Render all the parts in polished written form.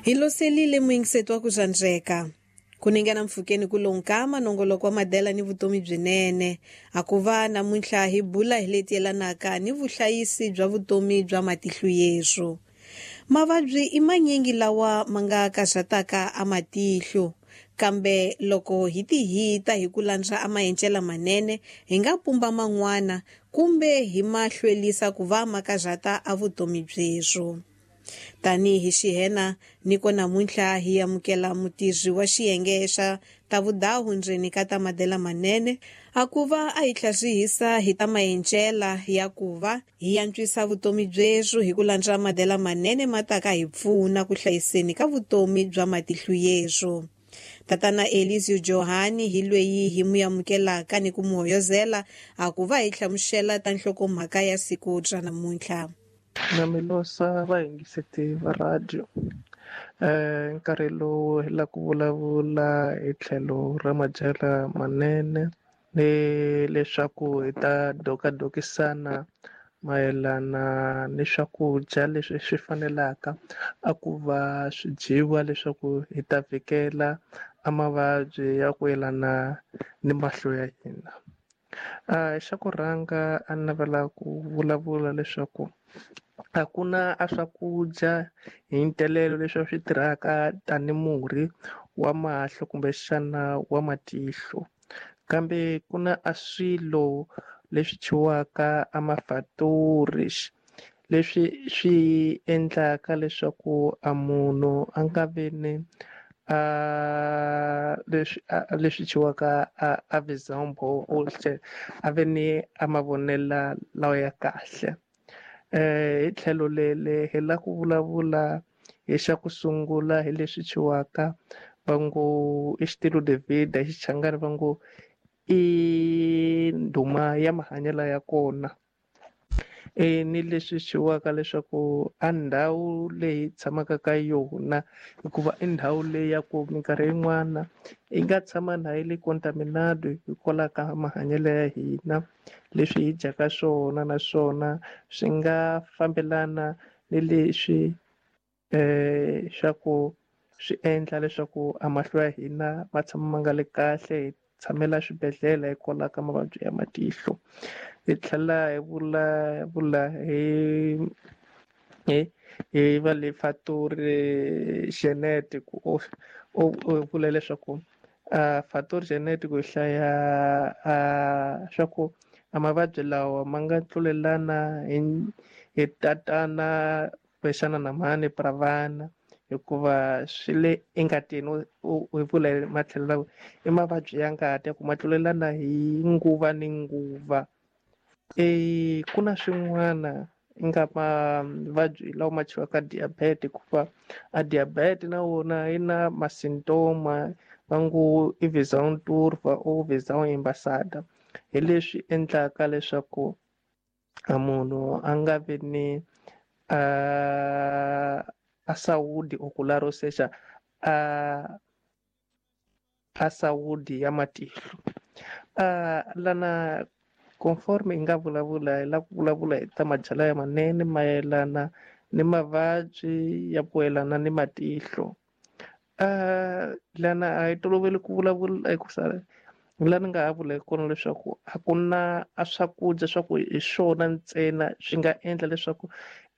Hi loselile muyingiseti wa ku zvandzeka. Ku ningana mpfhukeni ku lonkama nongoloko wa madela ni vutomi byinene. A ku va namuntlha hi bula hi leti yelanaka ni vuhlayisi bya vutomi bya matihlo yesu. Mavabyi i manyingi lawa ma nga karhataka a matihlo, kambe loko hi tihita hi ku landza a maendlelo manene hi nga pumba man'wana kumbe hi ma hlwerisa ku va ma karhata a vutomi byeswo. Tanihi xihena niko namuntlha hi amukela mutirhi wa xiyenge xa ta vudahu ndzeni ka ta madela manene a ku va a hi tlharihisa hi ta maendlela ya ku va hi antswisa vutomi byeswo hi ku landza madela manene ma taka hi pfuna ku hlayiseni ka vutomi bya matihlo yeswo. Tatana Elisio Johani hi lweyi hi mu amukelaka ni ku mu hoyozela a ku va hi hlamusela ta nhlokomhaka ya siku ra namuntlha. Na milosa vayingiseti va radio nkarhi lowu hi la ku vulavula hi tlhelo ra madyela manene ni leswaku hi ta dokadokisana mayelana ni swakudya leswi swi fanelaka a ku va swi dyiwa leswaku hi ta vhikela a mavabyi ya ku yelana ni mahlo ya hina. Xa ku rhanga a navela ku vulavula leswaku a ku na a swakudya hi ntelelo leswi swi tirhaka tani murhi wa mahlo kumbexana wa matihlo, kambe ku na a swilo leswi thyiwaka a mafatori leswi swi endlaka leswaku a munhu a nga vi ni a leswi leswi thyiwaka a vizambo a ve ni a mavonelo lawa ya kahle. Hi tlhelo lele hi la ku vulavula hi xa ku sungula hi leswi thyiwaka va ngo i xitilo David hi Xichangani va ngo i ndhuma ya mahanyelo ya kona. Ni leswi thyiwaka leswaku a ndhawu leyi tshamaka ka yona hikuva i ndhawu leyi ya ku minkarhi yin'wana yi nga tshama na yi le contaminado hikwalaho ka mahanyelo ya hina leswi hi dyaka swona naswona swi nga fambelana ni leswi swa ku swi endla leswaku a mahlo ya hina ma tshama ma nga le kahle hi tshamela swibedhlele hikwalaho ka mavabyi ya matihlo. Hi tlhela hi vulavula hi hi va le fatori genetic u vula leswaku fatori genetic hi hlaya swa ku a mavabyi lawa ma nga tlulelana hi tatana kumbexana na mhani pra vana hikuva swi le engatini u vula matlhelo lawa i mavabyi ya ngati ya ku ma tlulelana hi nguva ni nguva. Ku na swin'wana nga mavabyi lawa ma thyiwaka diabetes hikuva a diabetes na wona yi na masintoma va ngo i visão turva or visão embaçada hi leswi endlaka leswaku a munhu a nga vi ni a saúde ocular, ou seja, a saúde ya matihlo. Lana conforme hi nga vulavula hi la ku vulavula hi ta madyelo ya manene mayelana ni mavabyi ya ku yelana ni matihlo. Lana a hi toloveli ku vulavula hikusa la ni nga ha vula hi kona leswaku a ku na a swakudya swa ku hi swona ntsena swi nga endla leswaku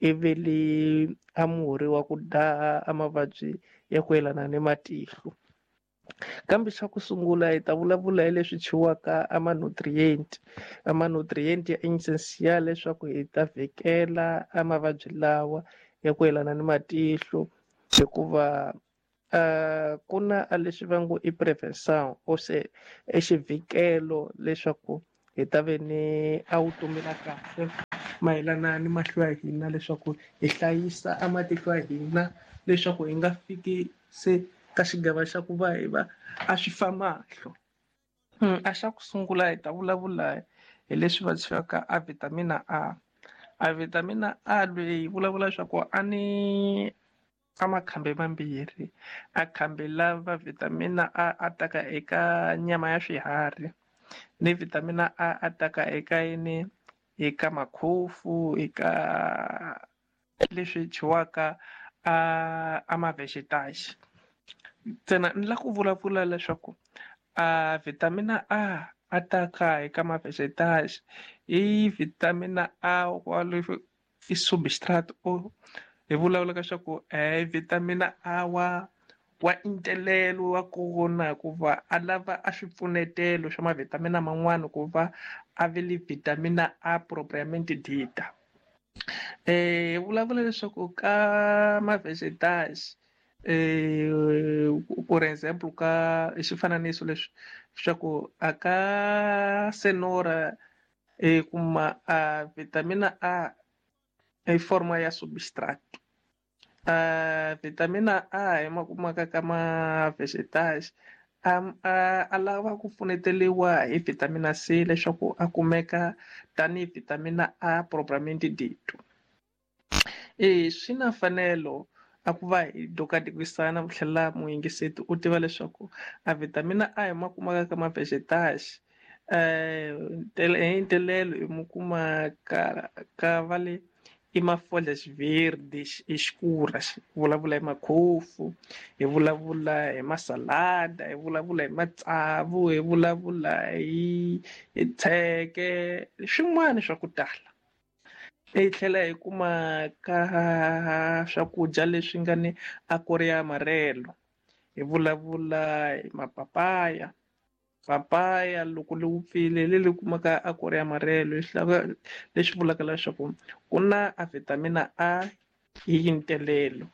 i ve le a murhi wa ku daha a mavabyi ya ku yelana ni matihlo. Kambe xa ku sungula hi ta vulavula hi leswi thyiwaka a ma-nutrient, a ma-nutrient ya essential leswaku hi ta vhikela a mavabyi lawa ya ku yelana ni matihlo hikuva ku na a leswi va ngo i prevention or se i xivhikelo leswaku hi ta ve ni a vutomi la kahle mayelana ni mahlo ya hina leswaku hi hlayisa a matihlo ya hina leswaku hi nga fiki se ka xigava xa ku va hi va a swi fa mahlo. A xa ku sungula hi ta vulavula hi leswi va thyiwaka a vitamina A. A vitamina A leyi vulavula leswaku a ni a makhambi mambirhi a khambi lava vitamina A a taka eka nyama ya swiharhi ni vitamina A a taka eka yini eka makhofu eka leswi thyiwaka a ma-vegetais. Ntsena ni lava ku vulavula leswaku a vitamina A a ta ka eka ma-vegetais i vitamina A wa i substrato hi vulavula leswaku vitamina A wa intelelo wa kona ku va a lava a swipfunetelo swa mavitamina man'wana ku va a ve le vitamina A propriamente dita. Hi vulavula leswaku ka ma-vegetais for example ka xifananiso leswi swa ku a ka senora hi kuma a vitamina A i forma ya substrato. Vitamina A hi ma kumaka ka ma-vegetais a lava ku pfuneteliwa hi vitamina C leswaku a kumeka tanihi vitamina A propriamente dito. Swi na mfanelo a ku va hi dokadikisana ku tlhela muyingiseti u tiva leswaku a vitamina A hi ma kumaka ka ma-vegetais hi ntelelo hi mu kuma ka va le i ma-folhas verdes escuras, hi vulavula hi makhofu, hi vulavula hi masalada, hi vulavula hi matsavu, hi vulavula hi tsheke, swin'wana swa ku tala. Hi tlhela hi kuma ka swakudya leswi nga ni akori ya amarelo, hi vulavula hi mapapaya. Papaya loko li wupfile leri kumaka akori ya amarelo leswi vulaka leswaku ku na a vitamina A hi ntelelo.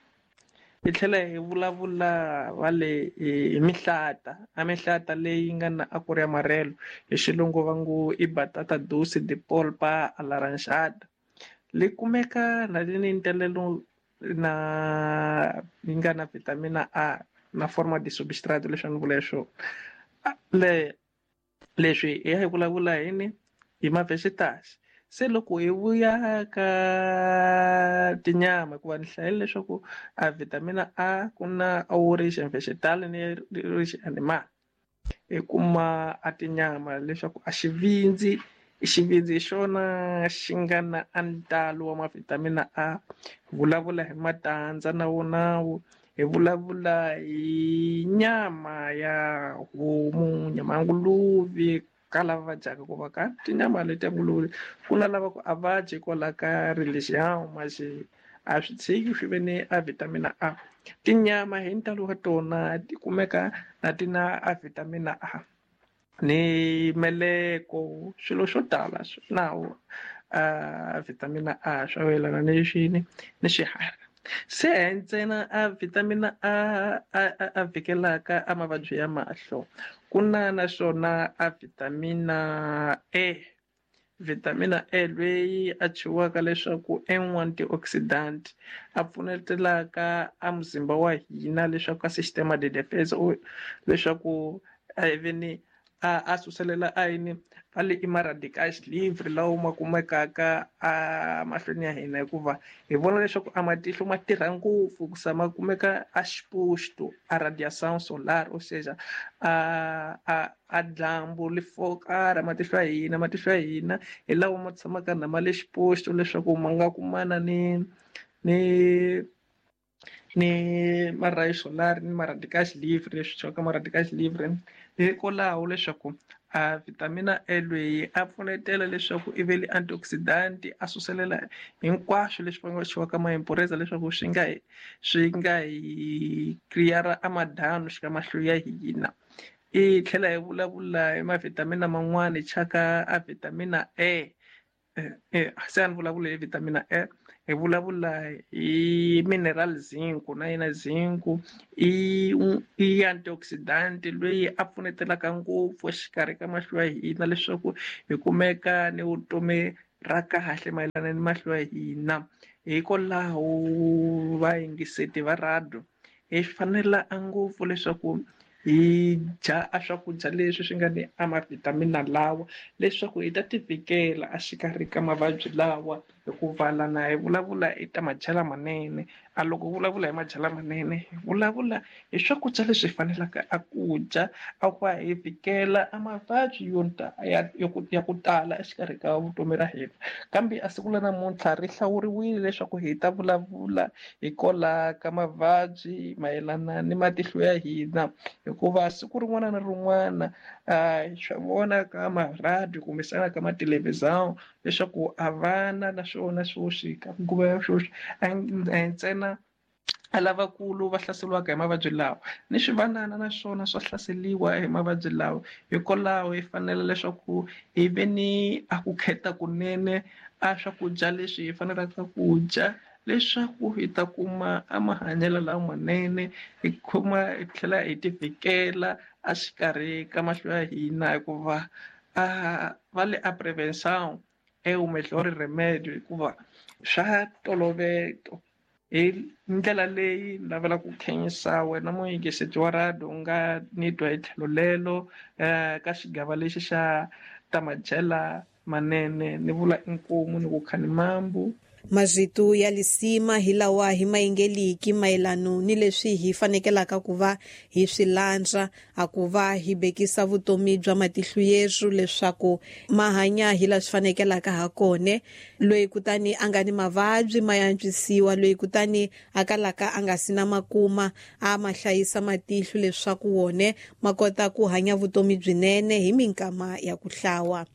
Hi tlhela hi vulavula va le hi mihlata, a mihlata leyi nga na akori ya amarelo hi xilungu va ngo i batata doce de polpa alaranjada. Li kumeka na le ni ntelelo na yi nga na vitamina A na forma de substrato leswi a ni vula swona. Leswi hi ya hi vulavula yini hi ma-vegetais. Se loko hi vuya ka tinyama hikuva ni hlayile leswaku a vitamina A ku na origin vegetal ni origin animal. Hi kuma a tinyama leswaku a xivindzi hi xona xi nga na a ntalo wa mavitamina A. Hi vulavula hi matandza na wona hi vulavula hi nyama ya homu, nyama ya nguluve ka lava va dyaka ku va ka tinyama leti ya nguluve ku na lava ku a va dyi kwala ka religion masi a swi tshiki swi ve ni a vitamina A. Tinyama hi ntalo wa tona ti kumeka na ti na a vitamina A ni meleko swilo swo tala nawo a vitamina A swa yelana ni xini ni xiharhi. Se ntsena a vitamina A a vhikelaka a mavabyi ya mahlo ku na naswona a vitamina E. Vitamina E leyi a chiwaka leswaku M1 antioxidant a pfunetelaka a muzimba wa hina leswaku a sistema de defense leswaku a even a suselela a yini va le i ma-radicals livre lawa ma kumekaka a mahlweni ya hina hikuva hi vona leswaku a matihlo ma tirha ngopfu ku sa ma kumeka a exposto a radiação solar, ou seja a dyambu li fokara matihlo ya hina. Matihlo ya hina hi lawa ma tshamaka na ma le exposto leswaku ma nga kumana ni ma-ray solar ni ma-radicals livre leswi thyiwaka ma-radicals livre. Hikwalaho leswaku a vitamina E leyi a pfunetela leswaku i ve le antioxidant a suselela hinkwaswo leswi va nga thyiwaka ma-impureza leswaku swi nga hi clear a madanu xika mahlo ya hina. I tlhela hi vulavula hi mavitamina man'wani thyaka a vitamina E. Se a ni vulavula hi vitamina E, hi vulavula hi mineral zinc na yena zinc i antioxidant loyi a pfunetelaka ngopfu exikarhi ka mahlo ya hina leswaku hi kumeka ni vutomi ra kahle mayelana ni mahlo ya hina. Hikwalaho vayingiseti va radio hi fanela ngopfu leswaku hi dya a swakudya leswi swi nga ni a mavitamina lawa leswaku hi ta ti vhikela exikarhi ka mavabyi lawa Hikuva lana hi vulavula hi ta madyelo manene, a loko vulavula hi madyelo manene hi vulavula hi swakudya leswi hi faneleke a ku dya a ku va hi vhikela a mavabyi yo ya ku tala exikarhi ka vutomi ra hina. Kambe a siku la namuntlha ri hlawuriwile leswaku hi ta vulavula hi kola ka mavabyi mayelana ni matihlo ya hina, hikuva siku rin'wana na rin'wana swa vona ka maradiyo kumbexana ka mathelevhizani leswaku a vana naswona sweswi ka nguva ya sweswi a hi ntsena a lavakulu va hlaseriwaka hi mavabyi lawa, ni swivanana naswona swa hlaseriwa hi mavabyi lawa. Hikwalaho hi fanele leswaku hi ve ni a ku kheta kunene a swakudya leswi hi fanelaka ku dya leswaku hi ta kuma a mahanyelo lamanene, hi kuma hi tlhela hi ti vhikela a xikarhi ka mahlo ya hina, hikuva a va le a prevention e o melhor remedio, hikuva swa toloveto. Hi ndlela leyi ni lavela ku khensa wena muyingiseri wa radio u nga ni twa hi tlhelo lelo ka xigava lexi xa ta madyela manene, ni vula inkomu ni ku khani mambu. Mazito ya lisima hi lawa hi mayingeliki mayelano ni leswi hi fanekelaka ku va hi swi landza a ku va hi bekisa vutomi bya matihlo yesu leswaku ma hanya hi la swi fanekelaka ha kone. Loyi kutani a nga ni mavabyi ma yantswisiwa, loyi kutani a kalaka a nga si na makuma a ma hlayisa matihlo leswaku wone ma kota ku hanya vutomi byinene hi minkama ya ku hlawa.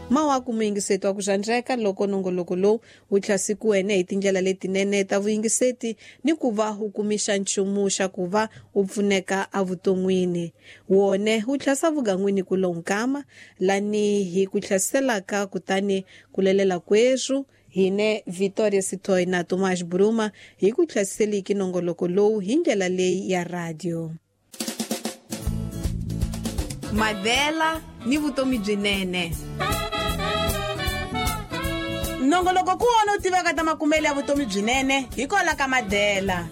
Mawaku muyingiseti wa ku xandzeka loko nongoloko lowu wu tlhasikiwene hi tindlela letinene ta vuyingiseti ni ku va wu kumisa nchumu xa ku va wu pfuneka evuton'wini. Wone wu tlhasa vugan'wini ku lonkama lani hi ku tlhaselaka kutani ku lelela kweswu hine Victoria Sitoy na Tomás Bruma hi ku tlhasiseliki nongoloko lowu hi ndlela leyi ya radio. Madela ni vutomi byinene. Nongoloko ku wona u tiveka ta makumelo ya vutomi byinene hi kola ka Madela.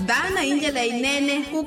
Dana hi ndlela yinene ku